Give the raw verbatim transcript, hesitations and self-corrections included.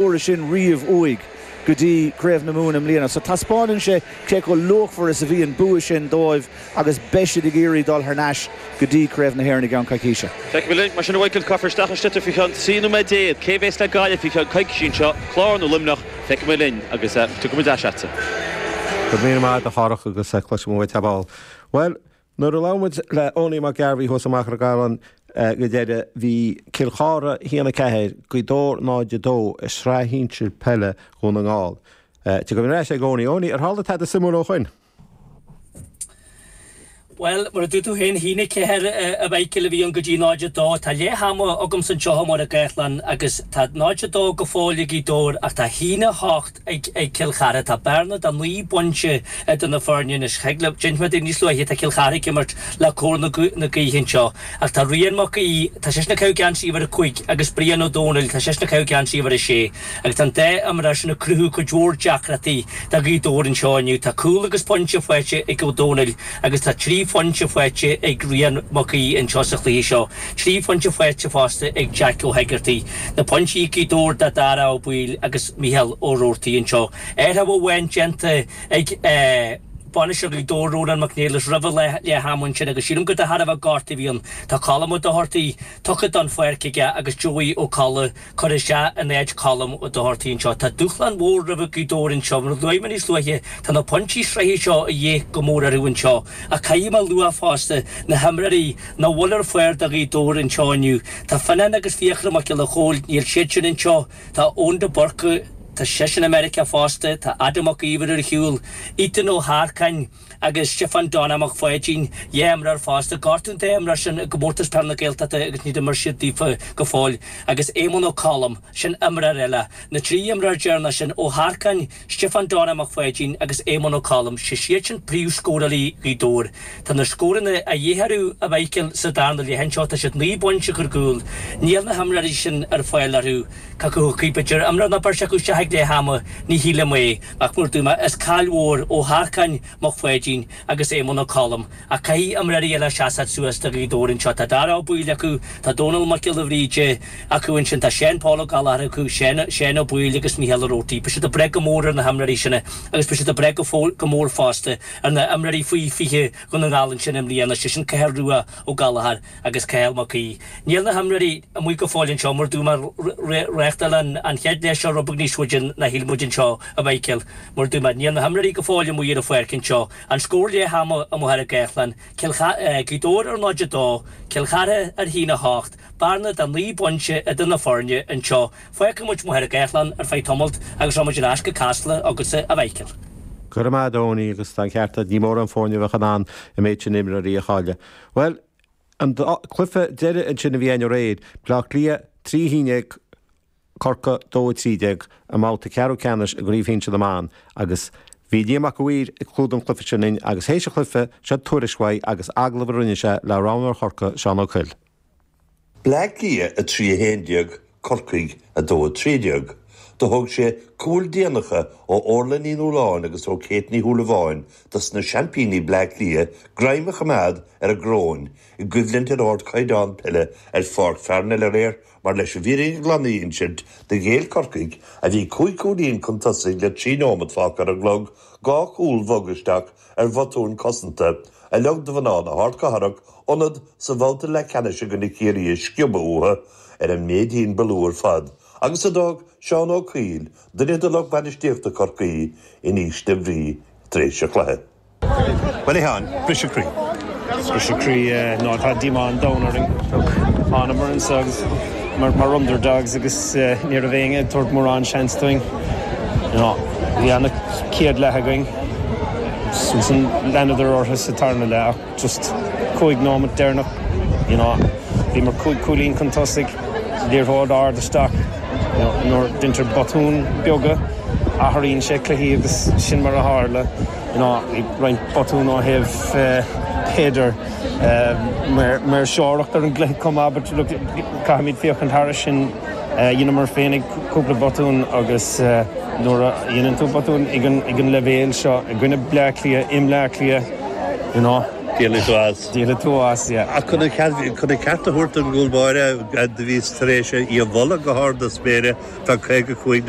uair sin riamh uaidh go dtí Craobh na Mumhan i mbliana. So taispeánann sé cé chomh luachmhar is a bhí an bua sin dóibh agus beidh siad ag iarraidh dul thar n-ais go dtí Craobh na hÉireann i gceann coicíse. Feicfimid mar sin a Mhichael caithfear isteach an sliotar faoi cheann trí nóiméad déag cé bhéas le Gaillimh faoi cheann coicíse anseo Clár nó Luimneach feicfimid linn agus tugaimid aseata. Go mí mar a chárach agus cloisim uait aball. Well, nuair a labhair muid le Owenie Mac Gairbhí thuas i Machaire Galán go deireadh bhí Cill Chartha a haon a ceathair Gaoth Dobhair náid a dó i sraith shinsir peile Dhún na nGall. Tá go reis ag Owenie Owenie ar tharla tada suimiúil ó shin. Well, mar a dúirt tú féin a haon a ceathair a Mhichael a bhí ann go dtí náid a dó, tá leath ama agam anseo i Machaire Gathlán agus tá náid a dó go fóill ag Gaoth Dobhair ach tá haon a hocht ag ag Cill Chartha tá bearna de naoi bpointe idir na foirne anois d'inis mé níos luaithe tá Cill Chartha ag imirt le cóir na na gaoithe anseo ach tá Rian Mac Aoidh tá sé ag caitheamh geansaí uimhir a cúig agus Brian Ó Dónaill tá sé ag caitheamh geansaí uimhir a sé agus tá an dá imreoir sin ag cruthú cuid mhór deacrachtaí do Ghaoth Dobhair anseo inniu tá cúl agus pointe faighte ag Ó Dónaill agus tá trí phointe faighte ag Rian Mac Aoidh anseo sa chluiche seo. Trí phointe faighte fosta ag Jack Ó hEigeartaigh. Na pointí Gaoth Dobhair do Dara Ó Baoill agus Micheál Ó Roarty anseo. Athrú amháin déanta ag eh, bainisteoir Ghaoth Dobhair Rónán Mac Niallais roimh leath ama ansin agus sílim go de thairbhe gortú a bhí ann. Tá Colm Ó Dochartaigh tugtha don pháirc aige agus Joey Ó Colla curtha isteach in áit Colm Ó Dochartaigh anseo. Tá dúshlán mhór roimh Ghaoth Dobhair anseo mar luaigh mé níos luaithe tá na pointí sraithe seo a dhíth go mór orthu anseo. Ach caithfidh mé a lua fosta na himreoirí nach bhfuil ar fáil do Ghaoth Dobhair anseo inniu. Tá Fionnán agus Fiachra Mac Giolla Chóill níl siad sin anseo, Tá Eoin de Burca Tá seisean i Meiriceá fosta, tá Adam Mac Íomhair ar shiúl, Ethan Ó hEarcáin agus Stiofán Donna Mac Pháidín, dhá imreoir fosta, gortú an dá imreoir sin i gcomórtas peile na Gaeltachta agus níor imir siad daofa go fóill, agus Éamonn Ó Colm, sin imreoir eile. Na trí imreoir deireanach sin, Ó hEarcáin, Stiofán Donna Mac Pháidín agus Éamonn Ó Colm, sé siad sin príomhscórálaí Ghaoth Dobhair. Tá na scóranna a dhíth orthu a Mhichael sa darna leath anseo, tá siad naoi bpointe ar gcúl. Níl na himreoirí sin ar fáil orthu. Cé acu a thiocfaidh b'fhéidir imreoir nó beirt acu isteach ag leath ama, ní shílim é. Ach mar a dúirt mé, is caill mhór Ó hEarcáin, Mac Pháidín agus Éamonn Ó Colm. Ach caithfidh imreoirí eile seasamh suas do Ghaoth Dobhair anseo. Tá Dara Ó Baoill acu, tá Dónal Mac Giolla Bhríde acu ansin, tá Seán Paul Ó Gallchóir acu, Seán Seán Ó Baoill agus Micheál Ó Roarty. Beidh siad ag brath go mór ar na himreoirí sin agus beidh siad ag brath go go mór fosta ar na himreoirí faoi fiche Dhún na nGall ansin i mbliana, sé sin Cathal Rua Ó Gallchóir agus Cathal Mac Aoidh. Níl na himreoirí amuigh go fóill anseo mar dúirt mé reáchtáil an chéad leath seo rud beag níos faide ná shíl muid anseo a Mhichael. Mar dúirt mé níl na himreoirí go fóill amuigh ar an pháirc anseo. An scór leath ama i Machaire Gathlán, Cill Gaoth Dobhair ar náid a dó, Cill Chartha ar haon a hocht, bearna de naoi bpointe idir na foirne anseo. Fágfaidh muid Machaire Gathlán ar feadh tamalt agus rachaidh muid ar ais go Casla agatsa a Mhichael. Go raibh maith agat Owenie agus tá an ceart agat ní mórán foirne a bheadh in ann an méid sin imreoirí a chailleadh. Well, an cluiche deiridh ansin a bhí ann aréir, Bleá Cliath trí haon déag Corcaigh dó a trí déag i mbabhta ceathrú ceannais i gCraobh Shinsir na mBan agus bhí Liam Mac a' Mhaoir ag clúdach an chluiche sin linn agus théis an chluiche seo tuairisc uaidh agus agallamh a rinne sé le roghnóir Chorcaí Seán Ó Coill. Bleá Cliath a trí a haon déag, Corcaigh a dó a trí déag. Do thóg sé cúil déanacha ó Orla Ní Nualláin agus ó Kate Ní Shúilleabháin dos na seaimpíní Bleá Cliath greim a choimeád ar an gcoróin i gcoimhlint ar ardchaighdeán peile ar Pháirc Pharnell aréir mar leis an bhfírinne ghlan a insint do ghéill Corcaigh a bhí cúig chúilín chun tosaigh le trí nóiméad fágtha ar an gclog dhá chúl bhog isteach ar bhotúin cosanta a lig do mhná na hardchathrach ionad sa bhabhta leathcheannais i gcoinne Chiarraí a sciobadh uathu ar an méidín ba lú ar fad agus a d'fhág Seán Ó Cuill, duine de lucht bainistíochta Chorcaí, in ísle brí tar éis an chluiche. Bhuel a Sheáin, briseadh croí. Briseadh croí ná tá díomá an domhain orainn. Thánamar anseo agus mar mar underdogs agus ní raibh éinne ag tabhairt mórán seans dúinn. Bhí ana chéad leath againn. Ansin leanadar orthu sa tarna leath ach just cúig nóiméad deireanach you know bhíomar cúig cúilín chun tosaigh, liathróid ard isteach you know nuair deintear botúin beaga athraíonn sé cluichí agus sin mar a tharla you know bhí roinnt botún ó thaobh b'fhéidir maoirseoireacht ar an gcluiche chomh maith but look caithfimid féachaint thairis sin dheineamar féinig cúpla botún agus nuair a dhéanann tú botún ag an ag an leibhéal seo i gcoinne Bleá Cliath i mBleá Cliath you know Díolfaidh tú as. Díolfaidh tú as, yeah. Ach chun an chun an ceart a thabhairt don gcúl báire do bhíos tar éis í a mholadh go hard na spéire tá caoga cúig